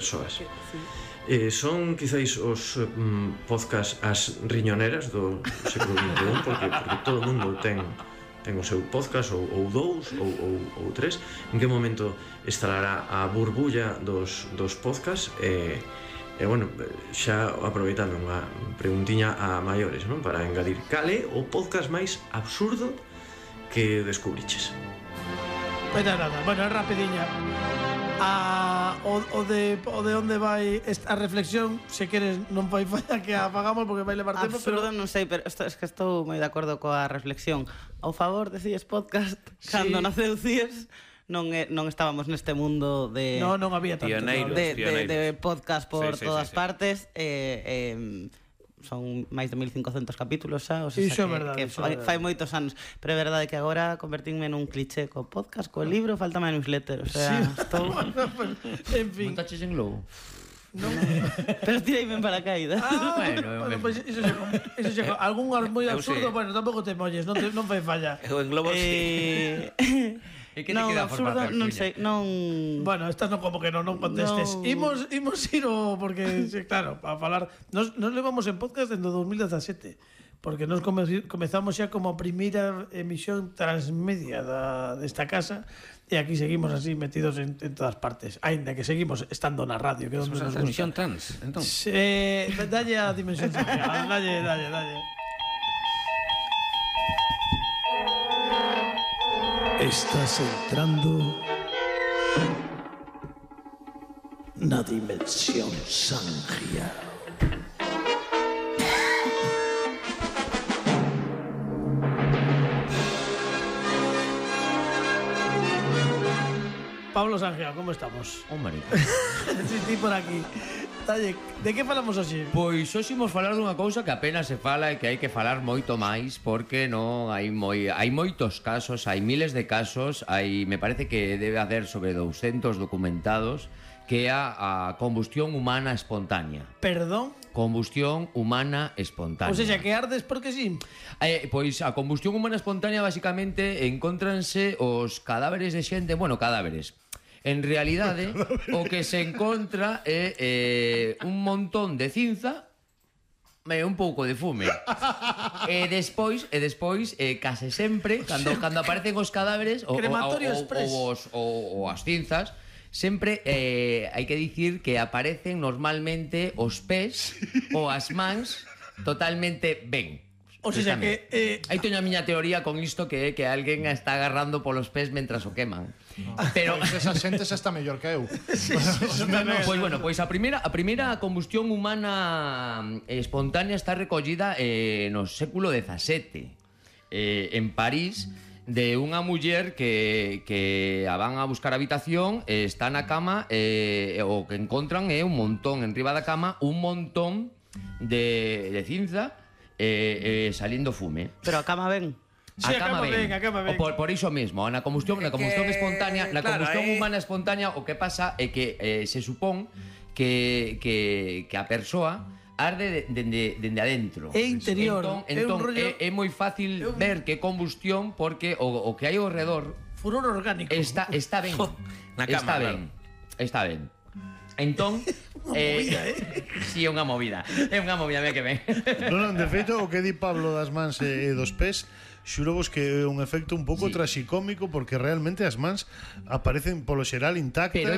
persoas. Son quizáis os podcast as riñoneras do século XXI, porque todo o mundo ten o seu podcast ou dous ou tres. En que momento instalará a burbulla dos podcast? Bueno, xa aproveitando unha preguntiña a maiores, non? Para engadir, cal é o podcast máis absurdo que descubriches? Bueno, rapidiña. O de onde vai a reflexión, se queres non vai falla que apagamos porque vai levar tempo, pero non sei, pero es que estou moi de acordo coa reflexión. Ao favor de CIES Podcast, cando naceu CIES non estábamos neste mundo de non había tanto de podcast por todas partes. Son máis de 1500 capítulos xa, o sea, iso é verdade, fai moitos anos, pero é verdade que agora convertínme nun cliché co podcast, co libro, falta máis newsletter, o sea, estou en fin. Montaches en Globo? Non. Pero tireime en paracaídas. Bueno, pues iso xa algún moi absurdo, bueno, tampouco te molles, non fai falla. Eu en Globo E que te queda absurdo, non sei, non... Bueno, estas non como que non contestes. Imos ir porque, claro, para falar... Nos levamos en podcast desde 2017, porque nos comezamos xa como a primeira emisión transmedia desta casa, e aquí seguimos así metidos en todas partes, aínda que seguimos estando na radio, que é onde nos gusta. Emisión trans, entón. Dalle a dimensión social, dalle. Estás entrando na dimensión Sangia. Pablo Sangia, como estamos? Hombre. Sí, por aquí. Dalle, de que falamos hoxe? Pois hoxe imos falar dunha cousa que apenas se fala e que hai que falar moito máis, porque non hai moitos casos, hai miles de casos, me parece que debe haber sobre 200 documentados, que é a combustión humana espontánea. Perdón? Combustión humana espontánea. O sea, que ardes porque sí? Pois a combustión humana espontánea basicamente encontranse os cadáveres de xente, bueno, cadáveres. En realidade, o que se encontra é un montón de cinza e un pouco de fume. E despois, case sempre, cando aparecen os cadáveres ou as cinzas, sempre hai que dicir que aparecen normalmente os pés ou as mans totalmente ben. O sea que... Aí teño a miña teoría con isto, que é que alguén está agarrando polos pés mentras o queman. Pero esa xente xa está mellor que eu. Pois bueno, pois a primeira combustión humana espontánea está recollida no século XVII en París, de unha muller que a van a buscar habitación, está na cama, o que encontran é un montón enriba da cama, un montón de cinza saliendo fume. Pero a cama ben. Sí, a cama ben. Por iso mesmo, na combustión espontánea, na combustión humana espontánea, o que pasa é que se supón que a persoa arde dende adentro. É interior. Entón é moi fácil ver que combustión, porque o que hai ao redor furor orgánico. Está ben. Na cama, Está ben. Entón, si é unha movida, me que ven. Non, de feito, o que di Pablo das mans e dos pés, xuro vos que é un efecto un pouco traxicómico, porque realmente as mans aparecen polo xeral intactas. Pero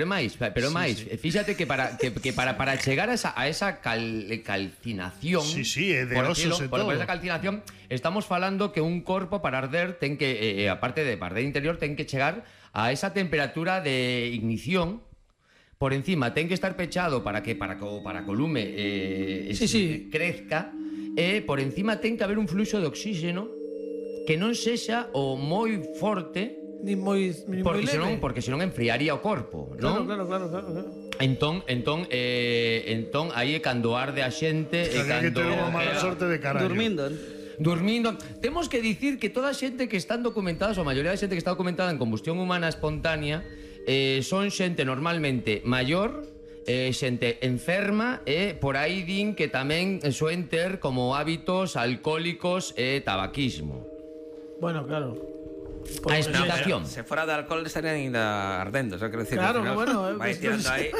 é máis. Fíxate que para chegar a esa calcinación, é de osos e todo. Por esa calcinación, estamos falando que un corpo para arder ten que, aparte de arder interior, ten que chegar a esa temperatura de ignición. Por encima ten que estar pechado para que o lume crezca, e por encima ten que haber un fluxo de oxígeno que non sexa o moi forte, ni moi leve, porque senón enfriaría o corpo, non? Claro. Entón aí é cando arde a xente e cando que ter unha mala sorte de carallo. Durmindo. Temos que dicir que toda a xente que están documentadas, ou a maioría da xente que está documentada en combustión humana espontánea, son xente normalmente maior, xente enferma, e por aí din que tamén soen ter como hábitos alcohólicos e tabaquismo. Bueno, claro. A explicación. Se fora de alcohol estarían ainda ardendo, xa quero dicir. Claro, bueno, vai tirando aí.